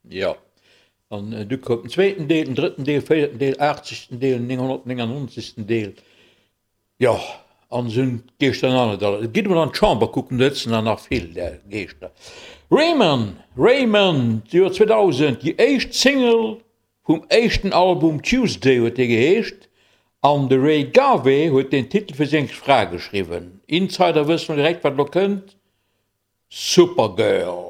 Jo, an du koum den zweeten Deel, den drëtten Deel, véierten Deel, aachtzegsten Deel, 999. Deel. Jo, an esou hunn d'Geeschter dann net alle. Gitt emol an d'Chamber kucken, do sëtzen der nach vill där Geeschter. Rayman, Rayman, d'Joer 2000, déi éischt Single vum éischten Album Tuesday huet dee geheescht, an de Ray Garvey huet den Titel fir seng Fra geschriwwen. Insider wëssen direkt wat elo kënnt, Supergirl.